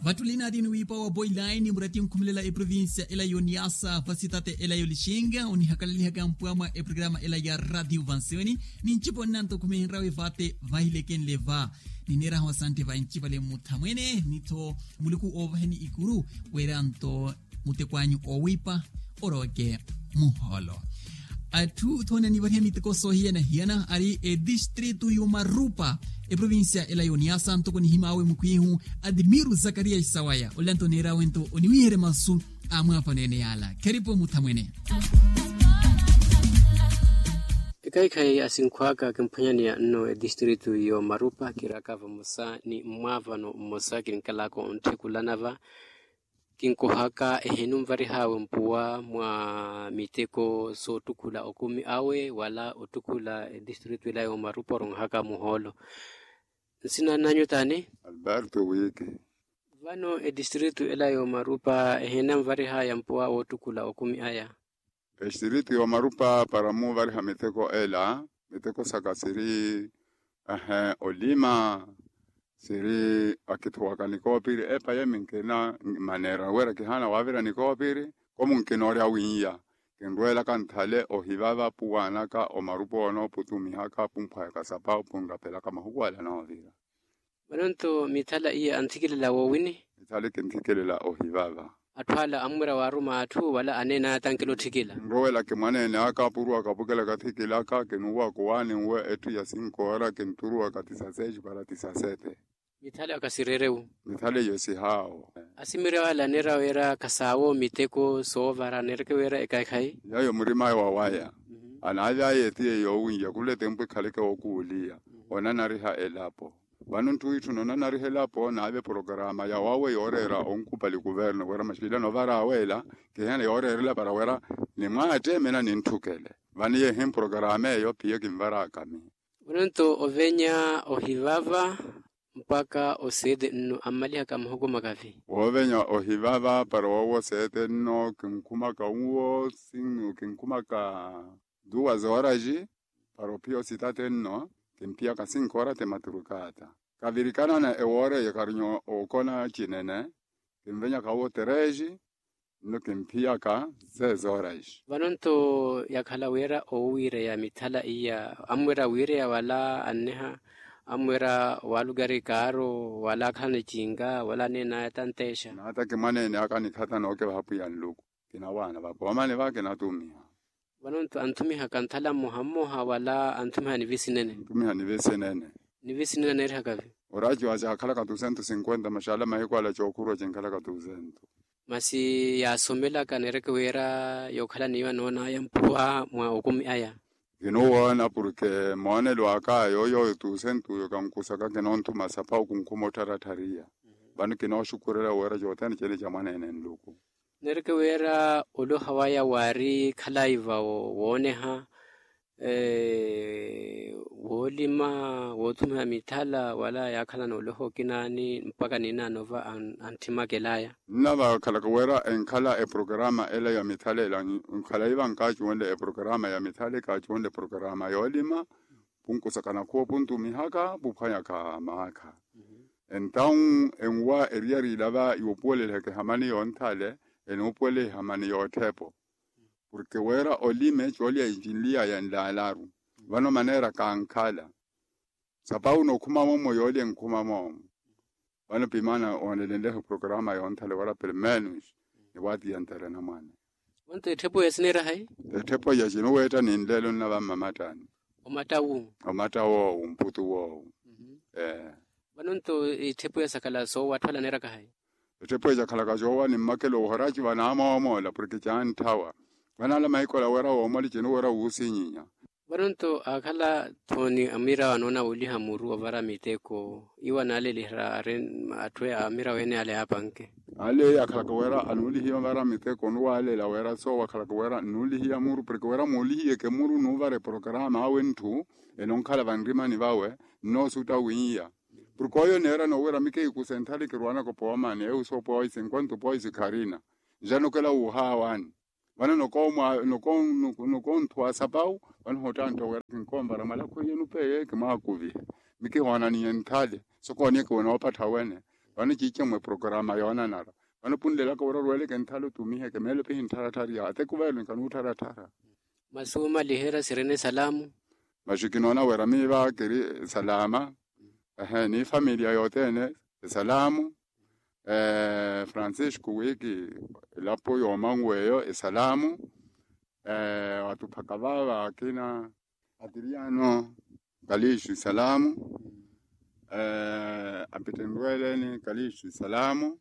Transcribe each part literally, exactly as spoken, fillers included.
Vattulina ati niwiipa wa boilaini murati onkhumelela eprovincia ela yoniasa vasitate ela yolixinga onihakalelihaka mpwamwa eprograma ela ya radio vansewini. Nincipo nnanto khumehenrawe vate vahilekenle va. Nineeraha osantte vancipale mmuthamwene ni-tho muluku oovaheni ikuru. Weera nto muteko anyu owiipa oroweke muhoolo. Atthu thoona nivariha miteko soohiyana-hiyana ari edistritu y'omarupa eprovincia ela y'oniasa ntoko nihimaawe mukhwihu admiru zakariya isawaya olanto neerawe nto oniwiherya masu a mwaafano ene yaala. Kheripo muthamwene. Ekhayi-khayi asinkhwaka kimphwanyaniya nno edistritu y'omarupa kiraka vamosa ni mmwaavano mmosa kinkalaka ontthekulana va. Kinkohaka ehinumvarihaawe mpuwa mwa miteko soottukhula okumi awe wala ottukhula edistritu ela y'omarupa oronhaka muhoolo. Nsina nanyu taani? Alberto wiki. Vano edistritu ela y'omarupa ehinamvarihaya mpuwa woottukhula okumi aya. Extiritu y'omarupa para muvariha miteko ela miteko saka siri ehe olima siri akithuwaka nikoopiri epa yemi nkina maneera wira kihaana wavira nikoopiri. Komu nkinoorya wiiya kinrweelaka nthale ohivava puwaanaka omarupa onooputumihaka pumphwayaka sapa opunrapelaka mahuku ala noovira. Vano nto mithala iya anthikilela woowini? Mithala kinthikilela ohivava. Atthu ala ammwira waaruma atthu wala aneena aya tankela otthikila? Nrowelaka mwaneene aka apuruwaka apukela kathikilaka kinuwaka owaani nwe etthu ya sinkoora kinturuwaka tisasexi para tisasete. Mithala aka sireerewu? Mithala iyo sihaawo. Asimiri awo ala aneera wira khasaawo miteko soovara aneereke wira ekhayi-khayi? Yayo murim'aya wawaya. Anaavya aya etiye yoowiiya khula etempu ekhaleke wookuuliya onanariha elapo. Vano ntthu itthu nonanariha elapo naave programa yawawe yooreera onkupali kuverno wira maxilano ovara aweela kihena yooreerela para wira nimwaatteemena nintthukele. Vano yeehi programa eyo piya kinvaraka miyo. Vano nto ovenya ohivava mpakha oseete nno ammalihaka mahuku makavi? Woovenya ohivava para woowo oseete nno kinkhumaka nwo sinnu kinkhumaka duwa zooraxi para ophiya ositate nno kimphiyaka sinkoora ti maturukata. Kavirikanana ewoora eyo karinyo okona cinene kinvenyaka wo terexi nno kimphiyaka sezoraxi. Vano nto yakhala wira owiireya mithala iya ammwira wiireya wala anniha ammwira walukari kaaro wala akhalana ecinga wala aneenaya tanteexa. Naataki mwaneene aka nikhatana okevaha pwiya nluku kinawaana vapoomani va kinatumiha. Vano nto anthumihaka nthala mmoha mmoha wala anthumihani visinene? Anthumihani visinene. Ni visinene aneerihaka vi? Oraci wa caakhalaka dusentu sinkwenta maxaala mahiku ala cookhurwa cinkhalaka dusentu. Masi yaasomelaka aneereke wira yookhala niyo anoonaya mpuwa mwa okumi aya? Kinuwoona porke moonelo aka yooyo dusentu yo kankusaka kinoonthuma sapawu kunkhuma ottharatthariyya. Vano kinooxukurela wira cothene cene ca mwaneene nluku. Neereke wira oloha waya waari khalayi va wooneha woolima woothumiha mithala wala yaakhalana oloha okinaani mpakha ninaano va antthimaka elaya. Nnavakhalaka wira enkhala eprograma ela ya mithala ela nkhalayi va nkaacuwenle eprograma ya mithala ekaacuwenle eprograma yoolima punkusaka nakhuwa opuntumihaka puphwanyaka maakha. Entawu enwa eriyari ila va yoopuwelelihaka ehamani yoonthale enuupuwela ehamani yootthe-po. Porke wira olime coolya cinliyaya nlaalaru vano maneera kankhala. Sapawu nookhuma moomo yoolya enkhuma moomo. Vano pimana oonelenleha eprograma yoonthale wira permenus niwaatiya ntere namwane. Onto ettepweya sineera hayi? Ettepweya cinuweetta ninleelo nnava mmamattani. Omattawu? Omattawu owu mputu wowu. Ee. Vano nto ettepweya sakhala soowa atthu ala aneeraka hayi? Ettepweya cakhalaka coowa ni mmakelo ohora civa namoomoola porke canthawa. Vano ala mahiku ala wira woomoli cinuwira wuusinyinya. Vano nto aakhala thooni amirawo anoona wooliha muru ovara miteko iwo anaalelihira atthu amiraweene ale apanke. Ale akhalaka wira anuulihiya ovara miteko onuwaalela wira soowo akhalaka wira nnuulihiya muru porke wira muulihiyeke muru nuuvara eprograma awe ntthu enonkhala vanrimani vawe nnoosutta wiiya. Porke oyo neerana owira mikehikusa enthala ekirwanaka opoomani ewu soopoisi enkwanto opoisi kharina njanokela wuuhaawani. Vano nokonthuwa sapawu vano hottantta wira kinkoonvara mwalakhu eyo nupeeye kimwaakuvihe mikihoonaniye nthale sokooniyeke wene oopattha wene. Vano ciice mwe programa yoonanara. Vano punlelaka wira orweleke nthale otumiheke meelo pihi nttharatthari ya atekuvelo nikanuuttharatthara. Masi wumaliherya sirina esalamu. Masi kinoona wira miiva kiri esalama. Ehe ni familiya yothene esalamu. Francisco wiki elapo yoomangu eyo esalamu. Wattuphaka vaava akina atiriyano kalixu esalamu. Apittenrweleni kalixu esalamu.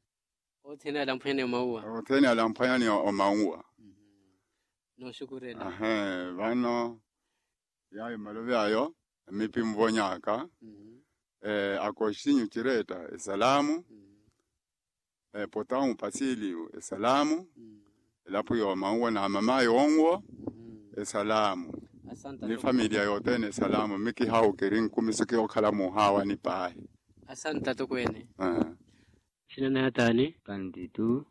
Othene alamphwanyani omauwa. Othene alamphwanyani omauwa. Nooxukurela. Ahe vano yayo malovi ayo amipi muvonyaka. Akoxinyu ciretta esalamu. Potawu pasiliyu esalamu. Elapo yoomanwa na mamayi onwo esalamu. Ni familiya yothene esalamu mikihawu kiri nkumiso kihookhala muhaawani paahi. Asanta tokweene. Sina naataani kantitu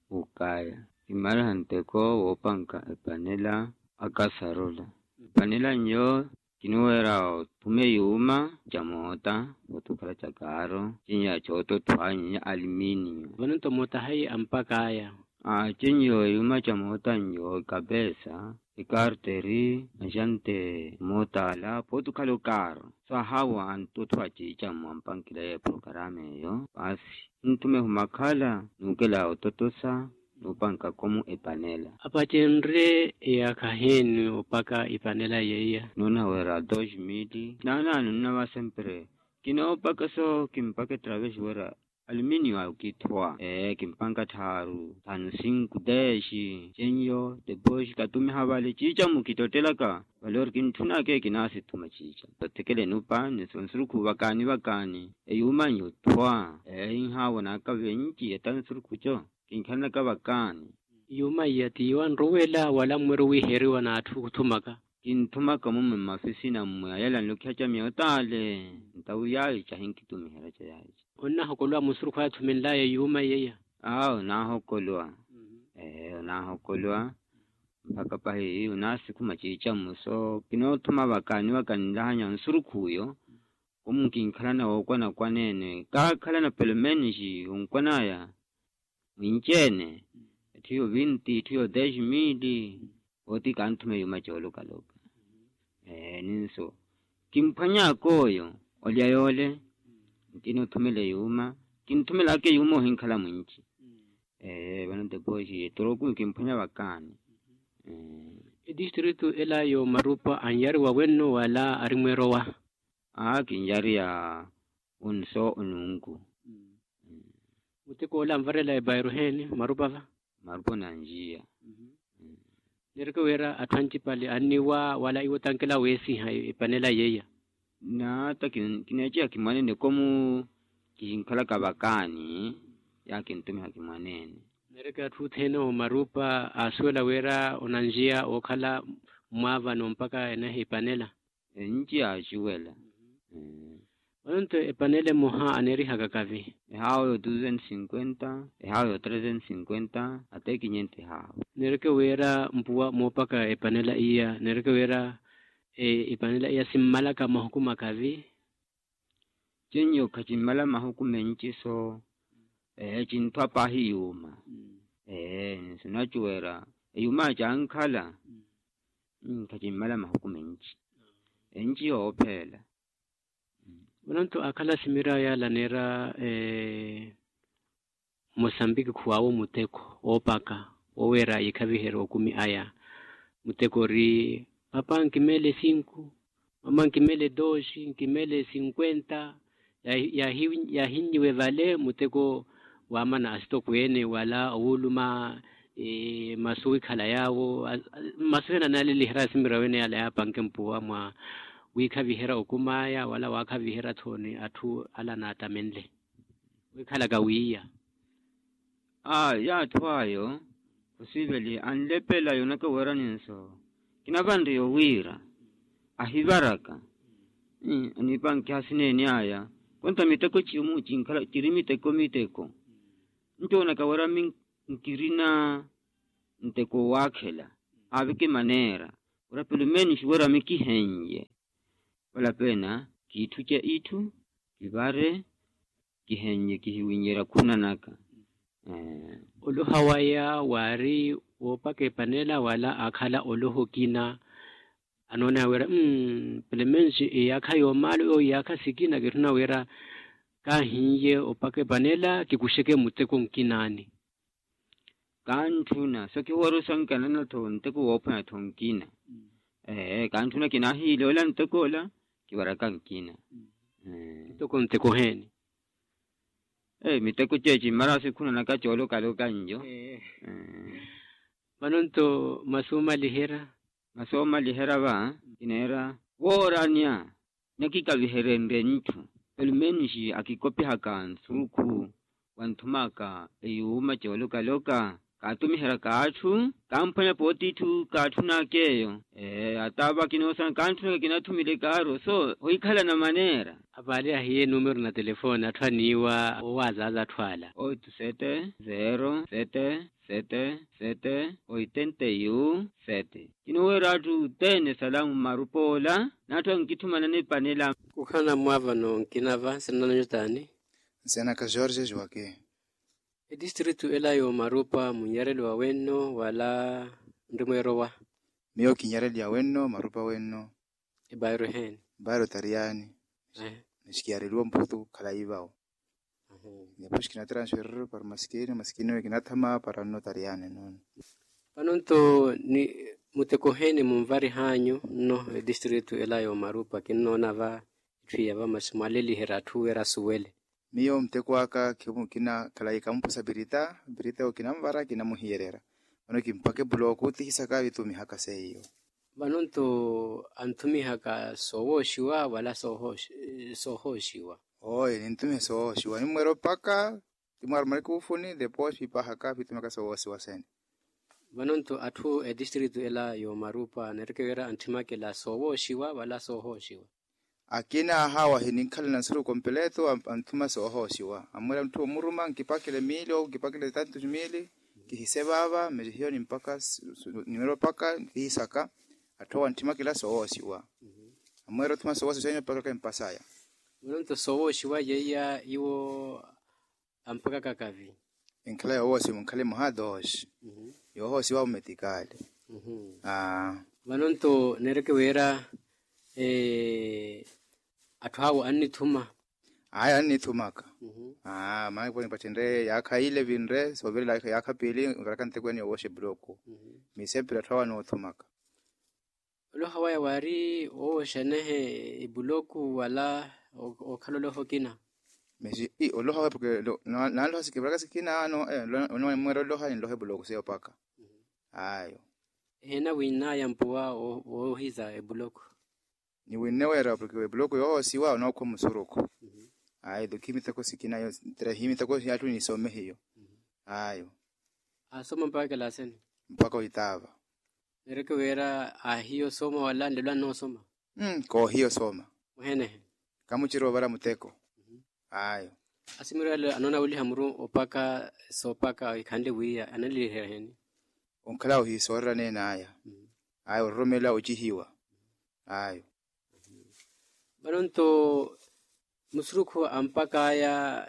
ukaya kimariha nteko woopanka epanela. Akasarola epanela nyo kinuweera othume yuuma ca moota. Otukhala ca kaaro cinyo ya cootothwa nyenya aliminiyo. Vano nto moota hayi ampakaya. Cinyo yuuma ca moota nyo ikapeesa ekarteri axante moota ala pootukhala okaaro. So ahawa antothwa ciica mwampankila ya eprokarama eyo paasi. Ntthume humakhala nuukela ototosa nuupanka komu epanela. Apacenrye eyaakha heeni opaka epanela yeiya? Noona wira dos mili naanaano nnava sempre. Kinoopaka so kimpaka etravesi wira aliminiyo akithowa ee kimpanka tthaaru tthanu sinku dexi cenyo. Depoxi katumiha vale ciicamu kitottelaka vale ori kintthunaka ekinasithuma ciicamu. Othekela enupa ni sonsurukhu vakaani vakaani eyuuma nyo othwa ee inhaavo naakavi enci etansuru khuco. Kinkhalanaka vakaani. Yuuma iya ti yowanrowela wala mmweri owiiheriwa n'atthu okhuthumaka? Kinthumaka mumwe mmafisina mmwe ayala nlokhiha ca miyotaale. Ntawi yaayica hinkitumiherya ca yaayica. Onnahokolowa munsurukhu aya athumenlaya yuuma iya iya? Awo naahokolwa. Ee onaahokolwa mpakha pahi onasikhuma ciicamu so kinoothuma vakaani vakaani nlahanya nsurukhu uyo. Komu kinkhalana wookwanakwaneene kaakhalana pelomenixi onkwanaya mwinci-ene. Etthu yo vinti etthu yo dexi mili. Ooti kanthume yuuma coolokaloka. Ee ninso kimphwanyaka oyo olya yoole. Nkinothumela yuuma kinthumelaka yuuma ohinkhala mwinci. Ee vano depoxi etoroku kimphwanya vakaani. Etistritu ela yoomarupa anyariwa wenno wala ari mweerowa? Aa kinyariya onso onunku. Muteko ola anvarela ebairo heeni marupa va? Marupa onanjiya. Neereke wira atthu ancipale anniwa wala iwo tankela weesiha epanela yeiya? Naata kineeciha kimwanene komu kihinkhalaka vakaani. Yaakintumiha kimwanene. Neereke atthu othene omarupa aasuwela wira onanjiya ookhala mmwaavano mpakha eneha epanela. Enci yaaciwela. Vano nto epanela emoha aneerihaka kavi? Ehaawo yo duzentos cinquenta ehaawo yo trezentos cinquenta. Atekinyento ehaawo. Neereke wira mpuwa moopaka epanela iya neereke wira epanela iya simmalaka mahuku makavi? Cinyo khacimmala mahuku menci so. Ee cinthwa paahi yuuma. Ee nsunacuwera eyuuma cankhala. Khacimmala mahuku menci. Enci yoopheela. Vano nto akhala simira yaala aneera mosambiki khuwaawo muteko oopaka woweera yiikhaviherya okumi aya. Muteko ori papa nkimeele sinku mama nkimeele doxi nkimeele sinkwenta. Yaahinnyiwe vale muteko waamana asitokweene wala owuluma masu wikhala yaawo. Masu ena analiliherya simira wene yala yaapanke mpuwa mwa wiikhaviherya okumaya wala waakhaviherya thooni atthu ala anaatamenle wikhalaka wiiya. Aa yaatthu ayo khusiveli anlepela yoonaka wira ninso kinavanre yowiira ahivaraka. Aniipankiha sineeni aya konta miteko cimu cinkhala ciri miteko miteko. Ncoonaka wira minkirina nteko owaakhela aaveke maneera wira pelomenixi wira mikihenye. Vala peena kiitthuce itthu kivare Kihenye kihiwinyerya khunanaka. Oloha waya waari woopaka epanela wala aakhala oloha okina. Anoona wira mmm pelemensi iyaakha yoomaalo yoowo iyaakha sikina kitthuna wira kaahiiye opaka epanela kikuxeke muteko nkinaani. Kantthuna so kihuwaru sankanana tho nteko woophwanya tho nkina. Ee kantthuna kinaahiile ola nteko ola kiwaraka nkina. Nteko nteko heeni? Miteko ceeci mmarasi khunanaka coolokaloka nyo. Vano nto masu omaliherya? Masu omaliherya va kineera wooranya nakikaviherenrye ntthu. Pelumenixi akikopihaka nsurukhu wanthumaka eyuuma coolokaloka kaatumiheryaka atthu kamphwanya pooti itthu kaatthunaka eyo. Ee ata va kinoosana kantthunaka kinathumile kaaro so ohikhalana maneera. Apaale ahiye numero na telefoni atthu aniiwa owaazaza atthu ala. Oito sete zero sete sete sete oitenta e um sete. Kinoowerya atthu othene salamu mmarupa ola n'atthu ankitthumana nipanela. Kukhala namwaavano nkina va nsina nanyu taani? Nsina naka jorge joaquin. Etistritu ela y'omarupa munnyarelo wa wenno wala nrimweerowa? Miyo kinyareliya wenno marupa wenno. Ebairo eheeni? Bairo tariyaani. Nixikiyareliwa mputu khalayi vawo. Depois kinatransferir para masikini masikini oyo kinathama para nno tariyaani nono. Vano nto ni muteko eheeni munvarih'anyu nno etistritu ela y'omarupa kinnoona va itthu iya va masi mwaleliherya atthu wira asuwele. Miyo muteko aka khimukina khalayi kamupusa pirita pirita okinanvara kinamuhiyererya. Vano kimpaka epulooku tihisaka vitumihaka seiyo. Vano nto anthumihaka soowooxiwa wala soohooxiwa? Oyo ninthumiha soowooxiwa nimweera opaka kimwaara marikuufuni depois vipahaka vitumihaka soowoosiwa sene. Vano nto atthu etistritu ela y'omarupa neereke wira anthimakela soowooxiwa wala soohooxiwa? Akina ahawahi ninkhalana nsuruku kompeleto anthuma soohoosiwa amwira mutthu omuruma nkipakele miili owo nkipakele tantu miili. Kihise vaava mesi hiyo nimpaka nimwira opaka kihisaka. Atthu awo anthimakela soohoosiwa amwira othuma soohoosiwa sene opaka kimpasaya. Mwironto soohoosiwa yeiya iwo ampakaka kavi? Enkhala yoohoosiwa munkhala emoha dos. Yoohoosiwa awo metikali. Vano nto neereke wira atthu awo annithuma? Ayi annithumaka. Maana kiponi mpattenre yaakha ile vinre soovirela yaakha piili nkaraka ntekwene yoowoxa epuloku. Miisempira atthu awo anoothumaka. Oloha waya waari woowoxanehe epuloku wala ookhala oloha okina? Mesi ii oloha waya porke naaloha sikina ano. Onimweera oloha ninloha epuloku seiya opaka. Ayo. Ehiina wiin'aya mpuwa woohiza epuloku? Niwinne weera porke epuloku yoohoosiwa onookhwa musurukhu. Ayo do khimithako sikina yo. Ntira himithako yatthu nisoome hiyo. Ayo. Aasoma mpaka kilaasini? Mpaka oitaava. Neereke wira aahiya osooma wala nlelo annoosoma? Koohiya osooma. Mwehenehe? Kamucira ovara muteko. Ayo. Asimirwale anoona wuliha muru opaka soopaka ikhanle wiiya analiherya heni? Onkhala ohiisoorera neen'aya. Ayo ororomela ocihiwa. Ayo. Vano nto musurukhu ampak'aya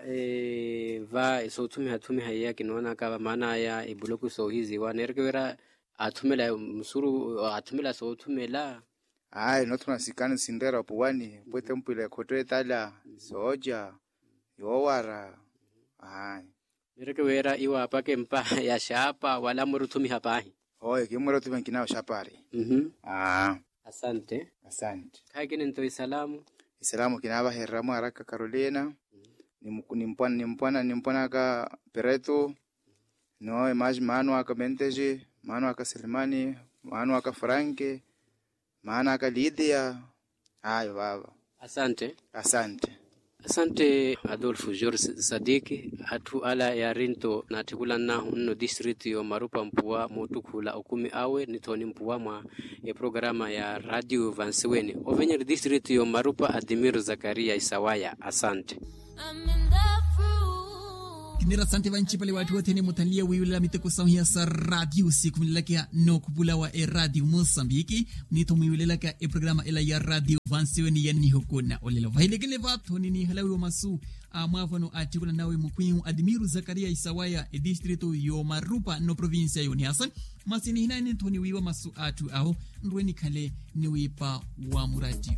va soothumiha-thumiha iya kinoonaka vamaan'aya epuloku soohiziwa neereke wira aathumela musuru aathumela soothumela? Ayi noothumela sikani sinreera opuwani pwete mpwila ekhotto etala sooca yoowara. Ayi. Neereke wira iwo aapaka empa ya xaapa wala mwiira othumiha paahi? Oyo kimwiira othumiha nkina oxapari. Asante. Asante. Khaakini nto isalamu? Isalamu kinaavahererya mwaaraka carolina nimpwana nimpwan'aka peretu. Nowe maasi maano aka mentesi maano aka selemani maano aka franke maano aka lidia. Ayo vaava. Asante. Asante. Asante adolfo george sadiki. Atthu ala yaarinto naatthikulan'ahu nno distritu y'omarupa mpuwa moottukhula okumi awe ni thooni mpuwa mwa eprograma ya radio vansiweni ovenyeri distritu y'omarupa adimiro zakaria isawaya asante. Kinira asante vancipale w'atthu othene muthanliye wiiwelela miteko sahu hiya sa radio sikhumelelaka nookhupula wa eradio mosambiki. Munitho mwiiwelelaka eprograma ela ya radio. Vansiwe ni yannihuku na olelo vahilekele vaatho ni niihalawiwa masu a mwaavano attikula nawe mukhwihu admiru zakariya isawaya etistritu y'omarupa n'oprovincia y'oniasa. Masi nihinanitho ni wiiwa masu a atthu awo nrwe nikhale ni wiipa wa muratti.